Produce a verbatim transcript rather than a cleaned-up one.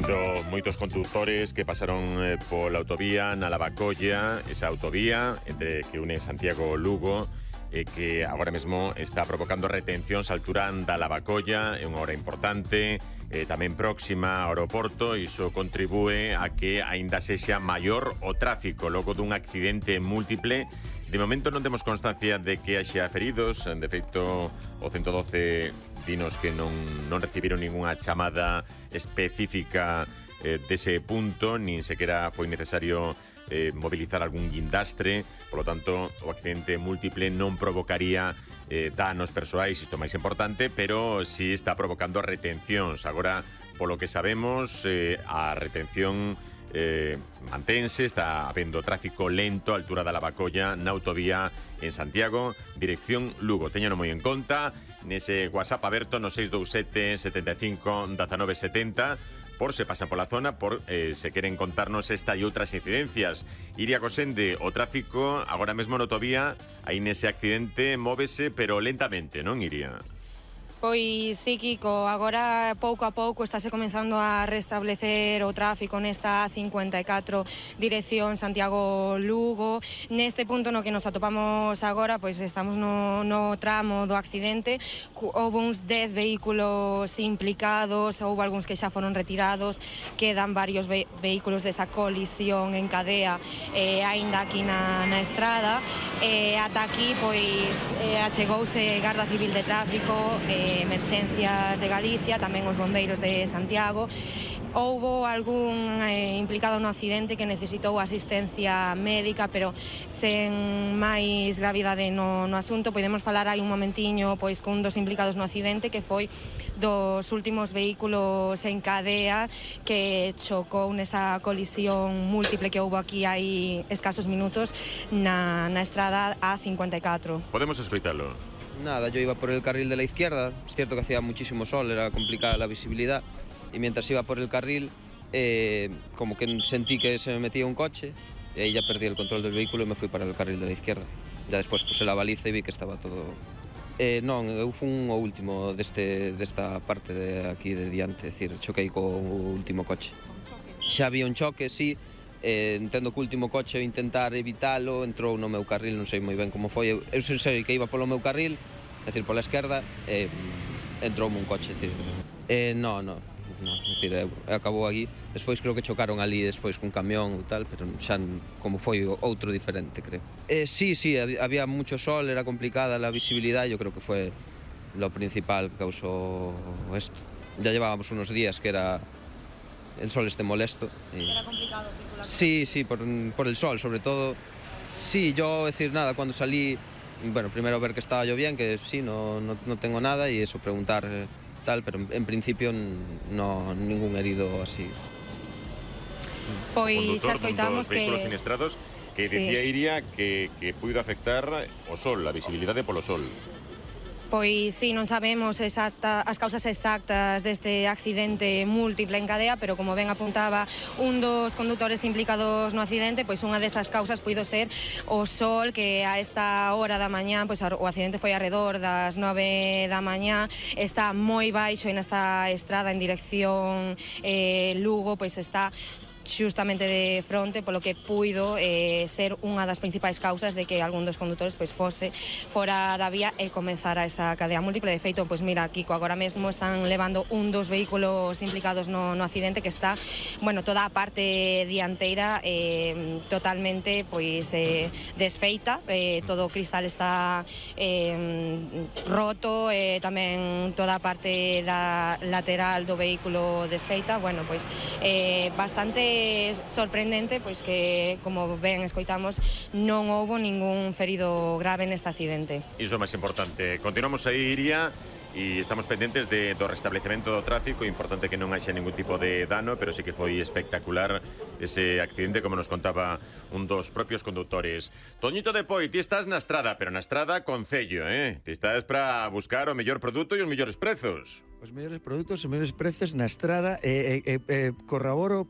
habido moitos condutores que pasaron eh, pola autovía na Lavacolla, esa autovía entre que une Santiago e Lugo, eh, que agora mesmo está provocando retencións á altura da Lavacolla, é unha hora importante, eh, tamén próxima ao aeroporto, e iso contribúe a que aínda sexa maior o tráfico logo dun accidente múltiple. De momento non temos constancia de que haxa feridos, de feito o ciento doce dinos que non, non recibiron ninguna chamada específica eh, dese punto, nin sequera foi necesario eh, movilizar algún guindastre, polo tanto o accidente múltiple non provocaría eh, danos persoais, isto máis importante, pero sí está provocando retencións. Agora, polo que sabemos, eh, a retención Eh, mantense, está habendo tráfico lento á altura da Lavacolla na autovía en Santiago, dirección Lugo. Téñano moi en conta nese WhatsApp aberto no seis dous sete, setenta e cinco, diecinueve setenta, por se pasan pola zona, por eh, se queren contarnos esta e outras incidencias. Iria Cosende, o tráfico agora mesmo na autovía, aí nese accidente móvese, pero lentamente, non, Iria? Pois sí, Kiko, agora pouco a pouco estáse comenzando a restablecer o tráfico nesta A cincuenta e catro dirección Santiago-Lugo. Neste punto no que nos atopamos agora, pois estamos no, no tramo do accidente. Houve uns dez vehículos implicados, houve algúns que xa foron retirados, quedan varios ve vehículos desa colisión en cadea eh, aínda aquí na, na estrada. Eh, ata aquí, pois, eh, achegouse Garda Civil de Tráfico, eh, Emerxencias de Galicia, tamén os bombeiros de Santiago. Houbo algún eh, implicado no accidente que necesitou asistencia médica, pero sen máis gravidade no, no asunto. Podemos falar aí un momentiño pois cun dos implicados no accidente, que foi dos últimos vehículos en cadea que chocou nesa colisión múltiple que houbo aquí hai escasos minutos na, na estrada A cincuenta e catro. Podemos escoitalo. Nada, yo iba por el carril de la izquierda, es cierto que hacía muchísimo sol, era complicada la visibilidad, y mientras iba por el carril, eh, como que sentí que se me metía un coche, y ahí ya perdí el control del vehículo y me fui para el carril de la izquierda. Ya después puse la baliza y vi que estaba todo... Eh, non, eu fun o último deste, desta parte de aquí de diante, é dicir, choquei co último coche. Xa había un choque, sí, eh, entendo que o último coche intentar evitalo, entrou no meu carril, non sei moi ben como foi, eu, eu sei que iba polo meu carril, é dicir, pola esquerda, eh, entroume un coche, é dicir, eh, no, no, no, é dicir, eu, acabou aquí, despois creo que chocaron ali despois cun camión ou tal, pero xa como foi outro diferente, creo. Eh, sí, sí, había mucho sol, era complicada la visibilidad, yo creo que fue lo principal que causó esto. Ya llevábamos unos días que era el sol este molesto. Y... ¿Era complicado circular? Sí, sí, por, por el sol, sobre todo. Sí, yo, decir nada, cuando salí, bueno, primero ver que estaba yo bien, que sí, no, no, no tengo nada, y eso, preguntar eh, tal, pero en, en principio no, ningún herido así. Pois xa escoitamos que... vehículos siniestrados, que sí. Decía Iria que, que puido afectar o sol, a visibilidade polo sol. Pois sí, non sabemos exacta, as causas exactas deste accidente múltiple en cadea, pero como ben apuntaba un dos condutores implicados no accidente, pois unha desas causas puido ser o sol, que a esta hora da mañá, pois o accidente foi arredor das nove da mañá, está moi baixo en esta estrada en dirección eh, Lugo, pois está xustamente de fronte, polo que puido eh, ser unha das principais causas de que algún dos condutores pois fose fora da vía e comezara esa cadea múltiple. De feito, pois mira, Kiko, agora mesmo están levando un dos vehículos implicados no, no accidente, que está, bueno, toda a parte dianteira eh, totalmente pois eh, desfeita, eh, todo o cristal está eh, roto, eh, tamén toda a parte da lateral do vehículo desfeita. Bueno, pois eh, bastante sorprendente, pois que, como ben escoitamos, non houbo ningún ferido grave neste accidente. Iso é máis importante. Continuamos aí, Iria, e estamos pendentes de, do restablecemento do tráfico. Importante que non haxa ningún tipo de dano, pero sí que foi espectacular ese accidente, como nos contaba un dos propios conductores. Toñito de Poi, ti estás na estrada, pero na estrada con cello, eh? Ti estás para buscar o mellor produto e os mellores prezos. Os mellores produtos e mellores prezos na estrada, e eh, eh, eh, corroboro